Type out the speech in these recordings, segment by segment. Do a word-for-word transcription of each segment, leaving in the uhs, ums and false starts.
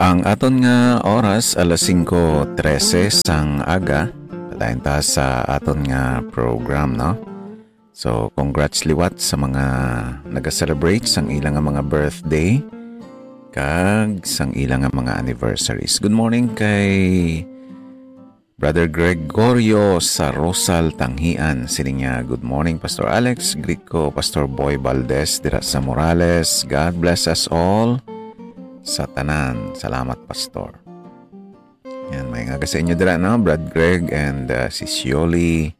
Ang aton nga oras, alas singko trese sang aga. Padayon ta sa aton nga program, no? So, congrats liwat sa mga naga-celebrate sang ila nga mga birthday kag sang ila nga mga anniversaries. Good morning kay Brother Gregorio sa Rosal, Tanghian. Siling niya, "Good morning, Pastor Alex. Greet ko, Pastor Boy Valdez, dira sa Morales. God bless us all sa tanan. Salamat, Pastor." Yan, may nga sa inyo dira, no? Brad Greg and, uh, si Sioli.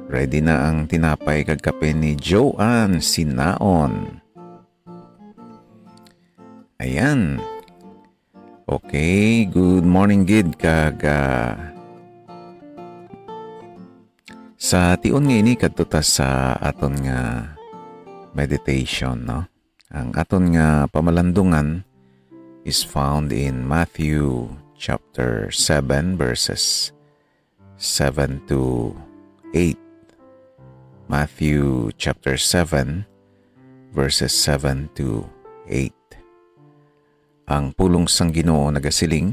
Ready na ang tinapay kag kape ni Joanne Sinaon. Ayan. Okay, good morning gid kag, ah, sa tion nga ini kadto ta sa aton nga meditation, no? Ang aton nga pamalandungan is found in Matthew chapter seven, verses seven to eight. Matthew chapter seven, verses seven to eight. Ang pulong sang Ginoo nagasiling,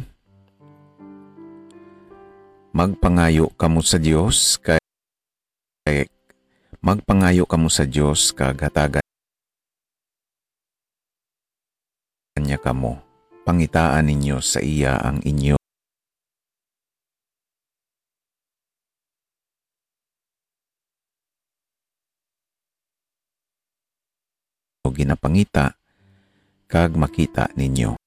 "Magpangayo kamo sa Dios, kay, kay magpangayo kamo sa Dios, kag hatagan niya kamo. Pangitaan ninyo sa iya ang inyo ginapangita, kag makita ninyo."